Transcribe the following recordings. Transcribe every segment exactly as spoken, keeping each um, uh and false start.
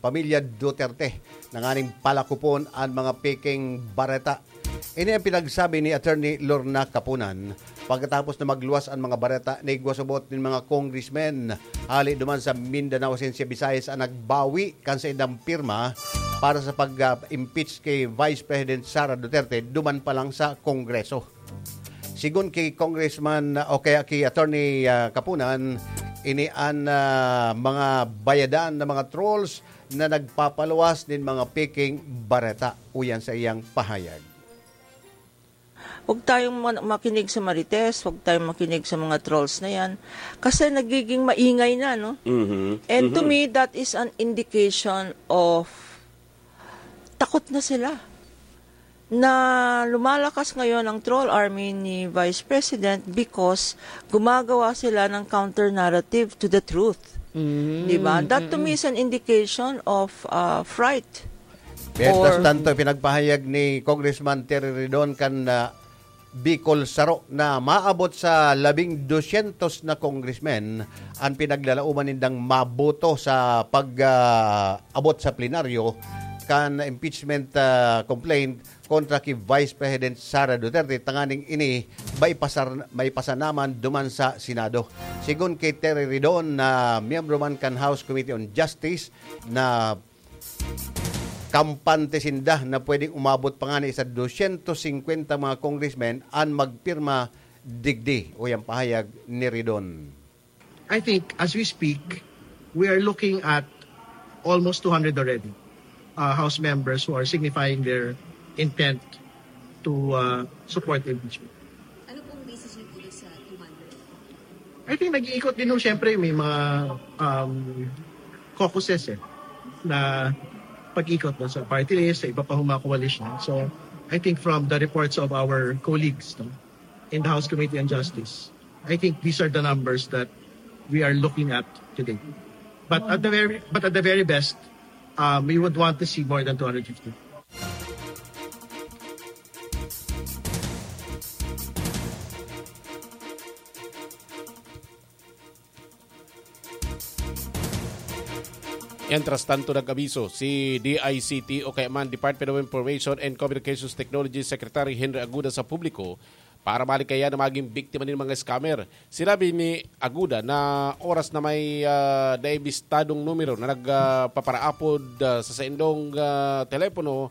pamilya Duterte na nganing palakopon an mga peking bareta. Ini ang pinagsabi ni Attorney Lorna Kapunan pagkatapos na magluwas an mga bareta na igwa subot nin mga congressmen hali duman sa Mindanao asin sa Visayas ang nagbawi kan saindang pirma para sa pag-impeach ki Vice President Sara Duterte duman pa lang sa Kongreso. Sigon ki Congressman, o kaya ki Attorney, ah, Kapunan, ini an, ah, mga bayadan na mga trolls na nagpapaluwas nin mga peking bareta. Uyan sa iyang pahayag. Huwag tayong man- makinig sa marites, huwag tayong makinig sa mga trolls na yan. Kasi nagiging maingay na, no? Mhm. And to Mhm. me, that is an indication of takot na sila na lumalakas ngayon ang troll army ni Vice President because gumagawa sila ng counter narrative to the truth. Di ba? That to me is an indication of uh, fright. Mientras Or- tanto, pinagpahayag ni Congressman Terry Ridon kan ah, Bicol Saro na maabot sa labing dosyentos na congressmen ang pinaglalauman nindang maboto sa pag-abot sa plenaryo kan impeachment ah, complaint kontra ki Vice President Sara Duterte, tanganing ini maipasar, maipasa naman duman sa Senado. Sigon kay Terry Ridon na miyembro man kan House Committee on Justice na kampante sinda na pwedeng umabot pa ngani sa dosyentos singkwenta mga congressmen an magpirma digdi, uyan pahayag ni Ridon. I think as we speak, we are looking at almost two hundred already, uh, House members who are signifying their intent to uh, support the impeachment. Ano pong basis niyo po doon sa two hundred? I think nag-iikot din ho, siyempre, may mga um, caucuses eh, na pag-ikot no, sa party list, sa iba pa hong mga coalition. So, I think from the reports of our colleagues no, in the House Committee on Justice, I think these are the numbers that we are looking at today. But at the very, but at the very best, um, we would want to see more than two hundred fifty. Mientras tanto, nag-abiso si D I C T o kaya man Department of Information and Communications Technology Secretary Henry Aguda sa publiko para malikayan na maging biktima nin mga scammer. Sinabi ni Aguda na oras na may ah, naibistadong numero na nagpaparaapod ah, sa saindong ah, telepono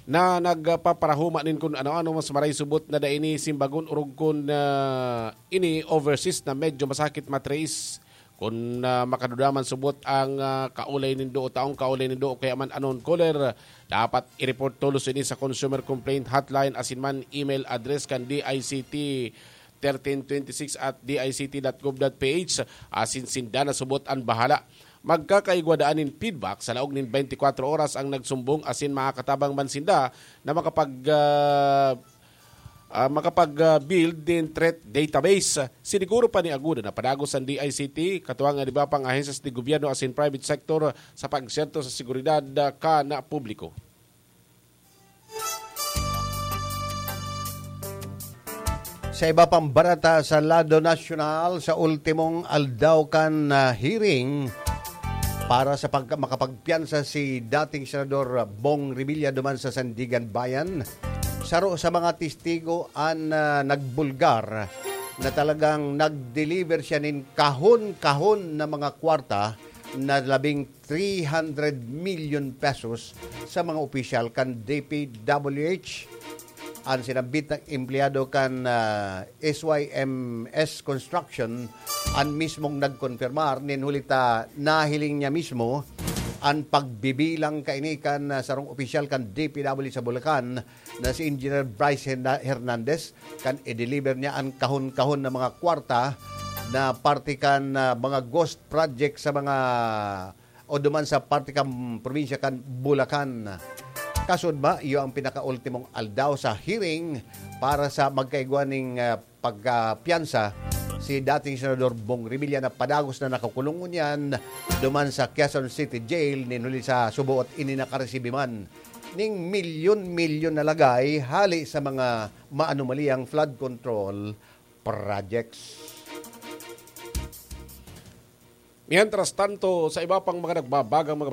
na nagpaparahuma nin kun ano-ano mas maray subot na dai ni simbagon orog kun ah, ini overseas na medyo masakit matrace. Kun ah, makaduda man subot ang ah, kaulay nindo o taong kaulay nindo o kaya man unknown caller, dapat i-report tolos ini sa Consumer Complaint Hotline asin man email address kan D I C T thirteen twenty-six at D I C T dot gov dot P H asin sinda na subot an bahala. Magkakaigwa daan nin feedback sa laog nin twenty-four oras ang nagsumbong asin makakatabang man sinda na makapag ah, ah, makapag-build din threat database. Siniguro pa ni Aguda na padagos ang D I C T, katuwang ang iba pang ahensyas de gobyerno asin private sector sa pagserto sa seguridad ah, kan publiko. Sa iba pang bareta sa lado nasyonal, sa ultimong aldaw kan ah, hearing para sa pag makapagpiyansa si dating Senador Bong Revilla duman sa Sandiganbayan, saro sa mga testigo an ah, nagbulgar na talagang nag-deliver siya nin kahon-kahon na mga kwarta na labing three hundred million pesos sa mga opisyal kan D P W H. An sinambit na empleyado kan ah, S Y M S Construction an mismong nagkonfirmar nin huli ta nahiling niya mismo an pagbibilang kaini kan ah, sarong opisyal kan D P W sa Bulacan na si Engineer Bryce Herna- Hernandez kan i-deliver niya an kahon-kahon na mga kwarta na parte kan ah, mga ghost project sa mga o duman sa parte kan probinsya kan Bulacan. Kasudma, iyo ang pinakaultimong aldaw sa hearing para sa magkaigwa ning ah, pagkapiyansa si dating Senador Bong Revilla na padagos na nakakulong ngunyan duman sa Quezon City Jail nin huli sa suboot ini nakaresibi man ning milyon-milyon na lagay hali sa mga maanumaliyang flood control projects. Mientras tanto, sa iba pang mga nagbabagang mga